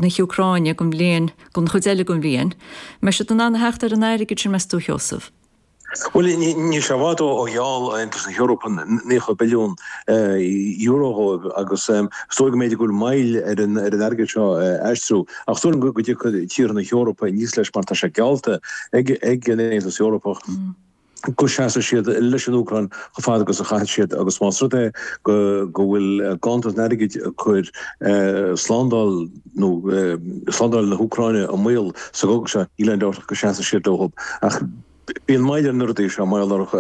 na hÚcráine don bhliain, don chuid eile den bhliain. Mbeidh siad in ann a theacht ar an airgead sin, meas tú, a Sheosaimh? Bhuel, níl sé i bhfad ó gheall Aontas na hEorpa €90 billiún dóibh agus is dóigh go mb'fhéidir go bhfuil moill ar an airgead seo a aistriú. Ach is dóigh liom go dtiocfaidh tíortha na hEorpa aníos leis mar tá sé geallta ag an Aontas Eorpach go seasfaidh siad leis an Úcráin chomh fada agus a chaithfidh siad agus más rud é go bhfuil ganntan airgid ag cur slándáil nó slándáil na hÚcráine i mbaol sa gcogadh seo, níl aon dabht ach go seasfaidh siad leo. Ach Bíonn moill ar na rudaí seo, moill ar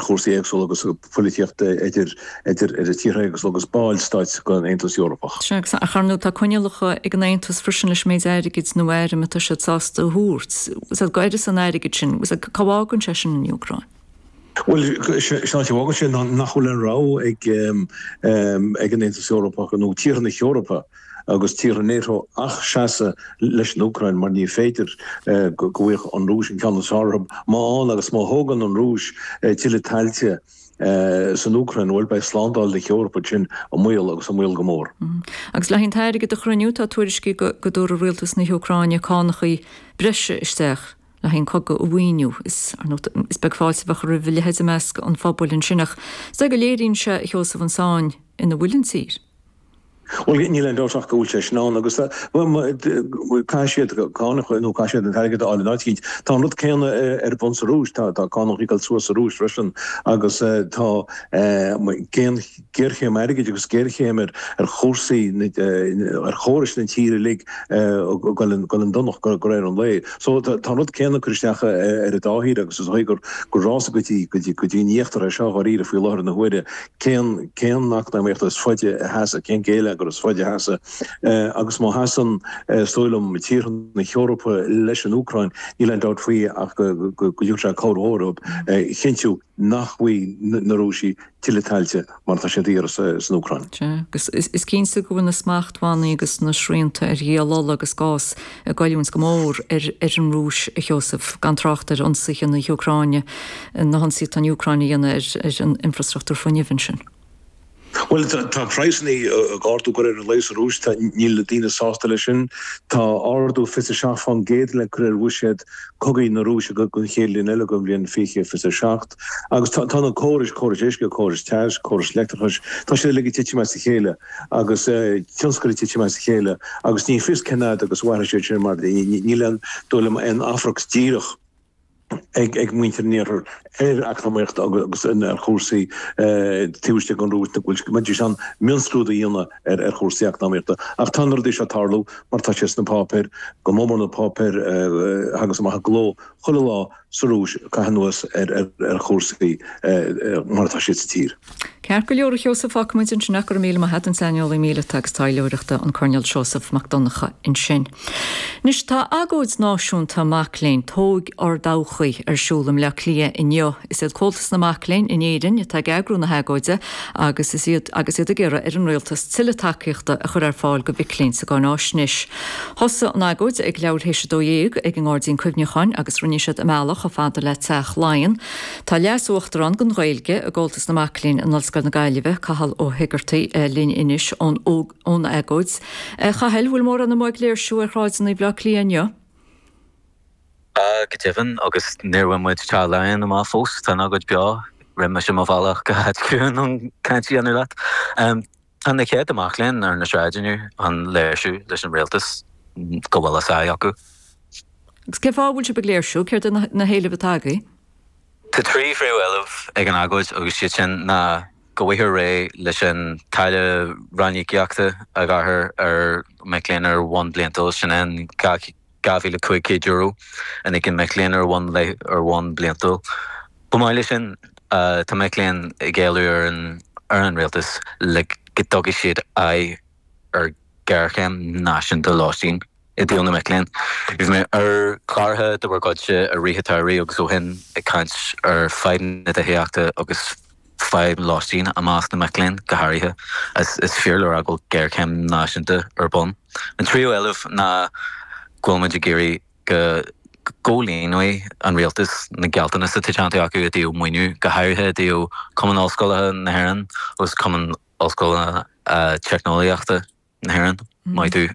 chúrsaí éagsúla agus poilitíocht idir idir tíortha éagsúla agus ballstáit den Aontas Eorpach. Sea, agus ach ar ndóigh tá coinníollacha ag an Aontas freisin leis an méid airgid nó airm atá siad sásta a thabhairt. Sea, go uireasa an airgid sin, cá bhfágann sé sin an Úcráin? Bhuel, sé an áit a bhfágann sé ná nach bhfuil aon rogha ag ag an Aontas Eorpach nó tíortha na hEorpa agus tíortha NATO ach seasamh leis an Úcráin mar ní féidir go bhfaigheadh an Rúis an ceann is fearr orthu. Má fhaigheann agus má thógann an Rúis tuilleadh tailte san Úcráin, bhuel, beidh slándáil na hEorpa ansin i mbaol agus i mbaol go mór. Agus le haghaidh an t-airgead a chruinniú, tá tuairiscí go dtabharfaidh rialtas na hÚcráine cánachaí breise isteach le haghaidh an cogadh a mhaoiniú. Is, ar ndóigh, is beag fáilte a bheadh roimh a leithéid i measc an phobail ansin ach is dóigh go léiríonn sé, a Sheosaimh, an sáinn ina bhfuil an tír. Bhuel, níl aon dabht ach go bhfuil sé sin ann agus caithfidh siad cánacha nó caithfidh siad an t-airgead a fháil in áit eicínt. Tá an rud céanna ar bun sa Rúis, tá cánacha ag dul suas sa Rúis freisin agus tá géarchéim airgid agus géarchéim ar chúrsaí, ar chórais na tíre uilig ag dul chun donachta de réir an lae. So tá an rud céanna ag cur isteach ar an dá thír agus is dóigh gur rás go dtí go dtí an íochtar é seo dháiríre faoi láthair na huaire. Cén cén eacnamaíocht is faide a sheasfaidh, cén géilleagar is faide a sheasfaidh? Agus má sheasann, is dóigh liom, tíortha na hEorpa leis an Úcráin, níl aon dabht faoi ach go dtabharfaidh sé cabhair mhór dóibh a chinntiú nach bhfaighidh na Rúisigh tuilleadh tailte mar atá siad a iarraidh san Úcráin. Sea, agus is cinnte go bhfuil na smachtbhannaí agus na srianta ar dhíol ola agus gás ag goilliúint go mór ar an Rúis, a Sheosaimh, gan trácht ar ionsaithe na hÚcráine. na hionsaithe atá an Úcráin a dhéanamh ar an infrastruchtúr fuinnimh ansin. Bhuel, tá praghsanna ag ardú de réir an lae sa Rúis, níl na daoine sásta leis sin. Tá ardú 27% le cur ar bhuiséad cogaidh na Rúise don chéad bhliain eile, don bhliain 2027. Agus tá na córais, córais uisce, córais teas, córais leictreachais, tá siad uilig ag titim as a chéile agus tionscail ag titim as a chéile agus ní fios cén fhad agus a mhairfidh siad sin mar níl aon dóigh liom aon éifeacht díreach ag muintir an Iarthair ar eacnamaíocht agus ar chúrsaí taobh istigh den Rúis, go mbeidís in ann mionscrúdú a dhéanamh ar chúrsaí eacnamaíochta. Ach tá na rudaí seo ag tarlú mar tá sé sna páipéir, go mór mór na páipéir a thagas amach i gcló chuile lá sa Rúis ag caitheamh anuas ar chúrsaí mar atá siad sa tír. Ceart go leor, a Sheosaimh, fágfaimid ansin é. Go raibh míle maith agat, an saineolaí míleata agus taidhleoireachta, an Coirnéal Seosamh Mac Donncha ansin. Anois, tá agóid náisiúnta mac léinn, Tóg Ár dTodhchaí, ar siúl i mBleá Cliath inniu. Is iad Comhaltas na Mac Léinn in Éirinn atá ag eagrú na hagóide agus is iad agus iad ag iarraidh ar an rialtas tuilleadh tacaíochta a chur ar fáil do mhic léinn sa gcáináisnéis. Thosaigh an agóid ag leathuair théis 12 ag an nGairdín Cuimhneacháin agus rinne siad a mbealach chomh fada le Teach Laighean. Tá Leas-Uachtarán don Ghaeilge i gComhaltas na Mac Léinn in Ollscoil na Gaillimhe, Cathal Ó hÉigeartaigh, linn anois ón ón agóid. A Chathail, bhfuil mórán amuigh ag léirsiú ar shráideanna Bhaile Átha Cliath inniu? Tá, go deimhin, agus níor bhain muid Teach Laighean amach fós, tá an agóid beo. Rinne mise mo bhealach go háit ciúin chun caint a dhéanamh leat. Tá na céadta mac léinn ar na sráideanna inniu chun léirsiú leis an rialtas go bhfuil a sáith acu. Agus cén fáth a bhfuil sibh ag léirsiú? Céard iad na héilimh atá agaibh? Tá 3 phríomhéileamh ag an agóid agus siad sin ná go bhfaighfear réidh leis an táille ranníocaíochta a ghearrthar ar mhic léinn ar bhonn bliantúil, sin é an €2,500 a n-íocann mic léinn ar bhonn ar bhonn bliantúil. Chomh maith leis sin, tá mic léinn ag éileamh ar an ar an rialtas le go dtabharfaidh siad aghaidh ar ghéarchéim náisiúnta lóistín i dtaobh na mic léinn. Bhí mé ar chláracha de bhur gcuidse i rith an tsamhraidh agus ó shin ag caint ar fadhb na tithíochta agus fadhb lóistín i measc na mic léinn go háirithe. Is fíor le rá go bhfuil géarchéim náisiúnta ar bun. An tríú éileamh ná go bhfuil muid ag iarraidh go gcomhlíonfaidh an rialtas na gealltanais atá déanta acu i dtaobh maoiniú, go háirithe i dtaobh Cumann Ollscoileanna na hÉireann agus Cumann Ollscoileanna Teicneolaíochta na hÉireann. Maith thú.